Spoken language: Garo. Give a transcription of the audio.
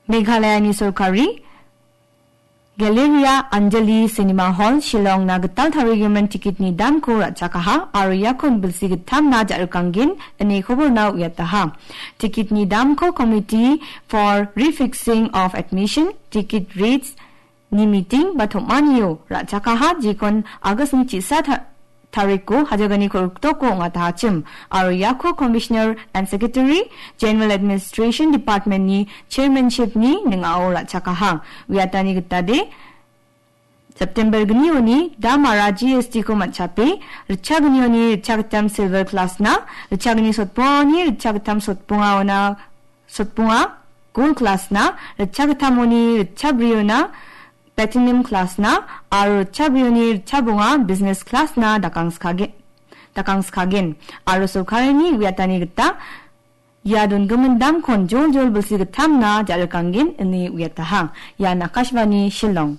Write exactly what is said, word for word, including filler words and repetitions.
Meghalayani sorkari Galleria Anjali Cinema Hall Shillongna gital tarigimin tikitni damko ra·chakaha aro iakon bilsi gittamna ja·rikangen ine koborna uiataha. Tikitni damko Committee for Refixing of Admission, Ticket Rates ni meeting ba tom·anio ra·chakaha jekon August-ni chisa ta-, tariko hajagani kolgrikdoko ong·atahachim aro iako Commissioner and Secretary General Administration Department-ni chairmanship-ni ning·ao ra·chakaha. Uiatani gitade, September gnioni damara G S T-ko man·chape, ritchagnioni ritchagittam silver class-na, ritchagni sotbongani ritchagittam sotbongaona, sotbonga gold class-na, ritchagittamoni ritchabriona platinum class-na, aro ritchabrioni ritchabonga business class-na dakangskage-, dakangskagen. Aro sorkarini uiatani gita ia dongimin damkon joljol bilsi gittamna ja·rikangen ine uiataha. Ian Akashvani Shillong.